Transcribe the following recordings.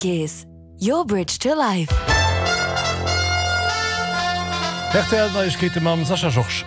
Gees, your bridge to life. Rtl Neiegkeete mam Sascha Georges.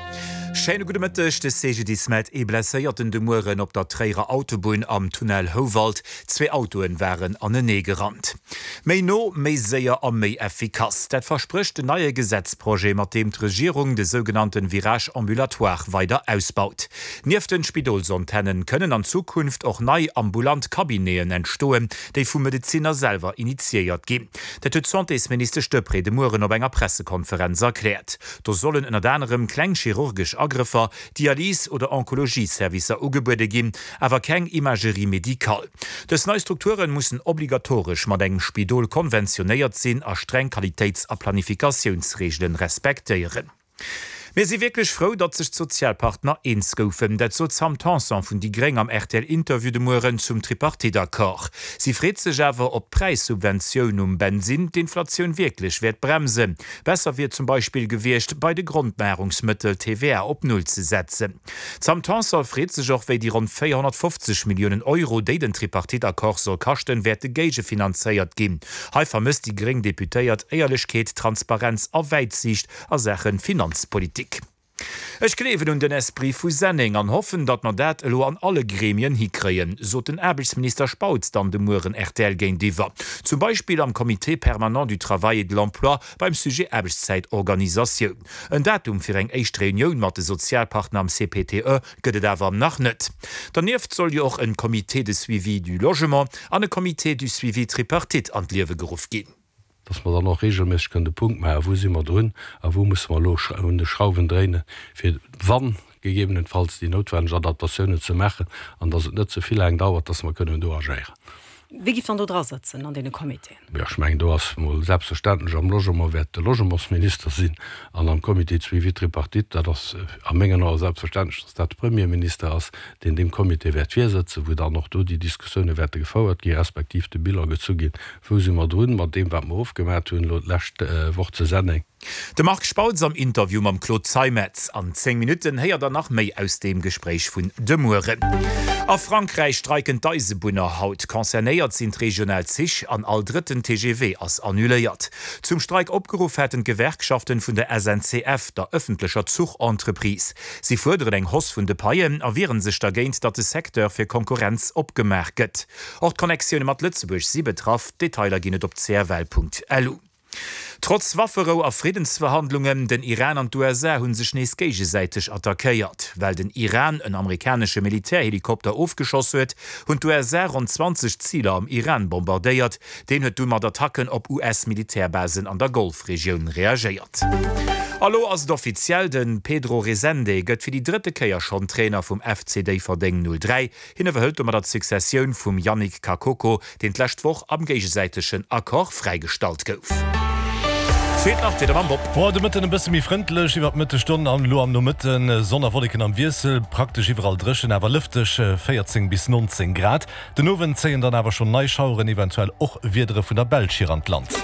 Schéine gudde Mëtteg. De CGDIS mellt ee Blesséierten de Mueren op der Tréierer Autobunn am Tunnel Houwald. Zwee Autoen waren anenee gerannt. Méi no, méi séier a méi effikass, dat versprécht den neie Gesetzprojet, mat deem d'Regierung de sougenannte Virage ambulatoire weider ausbaut. Nieft den Spidolsantennen kënnen an Zukunft och nei ambulant Cabineten entstoen, déi vum Medezinner selwer initiéiert ginn. Dat huet d'Santésministesch Deprez de Mueren op enger Pressekonferenz erkläert. Do sollen ënnert anerem kleng chirurgesch Agrëffer, Dialys oder Onkologie-Servicer ugebuede ginn, awer keng Imagerie médicale. Dës nei Strukture mussen obligatoresch mat engem Spidol konventionéiert sinn a streng Qualitéits a Planifikatiounsreegelen respektéieren. Mir si wierklech frou, datt sech d'Sozialpartner eens goufen. Dat sot d'Sam Tanson vun déi Gréng am RTL-Interview de Mueren zum Tripartite-Accord. Si freet sech awer, ob d'Präissubventioun um Bensinn d'Inflatioun wierklech wäert bremsen. Besser wier zum Beispill gewiescht, bei de Grondnahrungsmëttel d'TVA op Null ze setzen. D'Sam Tanson freet sech och, wéi déi ronn 450 Milliounen Euro, déi den Tripartite-Accord soll kaschten, wäerte géigefinanzéiert ginn. Hei vermësst déi gréng Deputéiert Éierlechkeet, Transparenz a Wäitsiicht a Saache Finanzpolitik. Ech gleewen un den Esprit vu Senneng an hoffen, datt mer dat elo an alle Gremien hikréien, sot den Aarbechtsminister Spautz dann de Mueren rtl géintiwwer. Zum Beispill am Comité permanent du travail et de l'emploi beim Sujet Aarbechtszäitorganisatioun. En Datum fir eng éischt Reunioun mat de Sozialpartner am CPTE gëtt et awer nach net. Dernieft soll jo och en Comité de suivi du logement an e Comité du suivi tripartite an d'Liewe geruff ginn. Dass mer dann och regelméisseg kënnen de Punkt maachen, wou si mer drun a wou musse mer elo un de Schrauwen dréinen, fir wann gegebenenfalls déi noutwenneg Adaptatiounen ze maachen an dass et net ze vill laang dauert, dass mer kënnen do agéieren. Wie giff dann do dra sëtzen an deene Comitéen? Jo, ech mengen, do ass mol selbstverständlech am Logement wäert de Logementsminister sinn an am Comité de suivi tripartite, dat ass a mengen Ae selbstverständlech, dass dat de Premierminister ass, deen deem Comité wäert virsëtzen, wou dann och do déi Diskussioune wäerte gefouert gi respektiv de Bilan gezu ginn, wou si mer drun mat deem, wat mer ofgemat hunn elo d'lescht Woch zu Senneng. De Marc Spautz am Interview mam Claude Zeimetz. An 10 Minutten héiert der nach méi aus deem Gespréich vun de Mueren. A Frankräich streiken d'Eisebunner haut. Concernéiert sinn d'regional Zich an all drëtten TGV ass annuléiert. Zum Streik opgeruff haten d'Gewerkschaften vun der SNCF, der ëffentlecher Zuchentreprise. Si fuerderen eng Hausse vun de Paien a wieren sech dergéint, datt de Secteur fir Konkurrenz opgemaach gëtt. Och d'Connectioune mat Lëtzebuerg si betraff. Detailer ginn et op cfl.lu. Trotz Wafferou a Friddensverhandlungen, den Iran an d'USA hu sech nees géigesäiteg attackéiert. Well den Iran en amerikanesche Militärhelikopter ofgeschoss huet, hunn d'USA ronn 20 Ziler am Iran bombardéiert. Deen huet du mat Attacken op US-Militärbasen an der Golfregioun reagéiert. A lo ass et offiziell, De Pedro Resende gëtt fir déi drëtte Kéier schonn Trainer vum FC Déifferdeng 03. Hien iwwerhëlt domadder d'Successioun vum Yannick Kakoko, deen d'lescht Woch am géigesäitegen Accord fräigestallt gouf. Feelt nach d'Wieder mam Bob. Boah, de Mëtten e bësse méi frëndlech iwwert d'Mëttesstonn an elo am Nomëtten Sonn a Wolleken am Wiessel, praktesch iwwerall dréchen, awer lëfteg, 14 bis 19 Grad. Den Owend zéien dann awer schonn nei Schaueren, eventuell och Wiedere vun der Belsch hier an d'Land.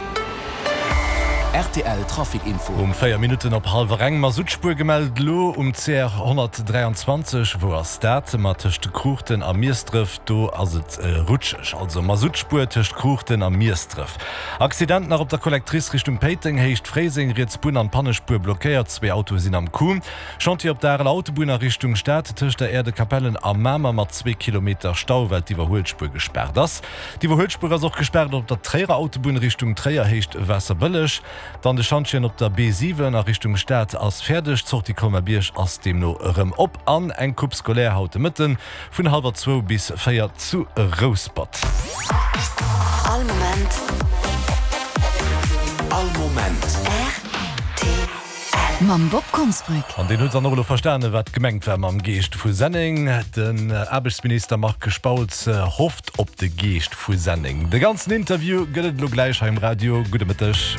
Rtl Trafic Info. Um 4 Minutten op hallwer eng Masuttspuer gemellt elo um CR 123. Wou ass dat? Ma tëscht Kruuchten a Miesdref, do ass et rutscheg. Also Masuttspuer tëscht Kruuchten a Miesdref. Accident nach op der Collectrice Richtung Péiteng, Héicht Fréiseng, riets Bunn an Pannespuer blockéiert, zwee Autoe sinn am Coup. Chantier op der Areler Autobunn a Richtung Stad tëscht der Aire de Capellen a Mamer mat zwee Kilometer Stau, well d'Iwwerhuelspuer gespaart ass. D'Iwwerhuelspuer ass och gespaart op der Tréierer Autobunn Richtung Tréier, Héicht Waasserbëlleg. Dann de Schantjen op der B7 a Richtung Stad ass fäerdeg. D'Sortie Colmar-Bierg ass deemno erëm op. An eng Coupe scolaire haut de Mëtten vun hallwer zwou bis 4 zu Rouspert. All Moment. All Moment. Rtl. Mam Bob Konsbrück. An deen huet dann och elo verstanen, wat gemengt war mam Geescht vu Senneng. Den Aarbechtsminister Marc Spautz hofft op de Geescht vu Senneng. De ganzen Interview gëtt et elo gläich hei um Radio. Gudde Mëtteg.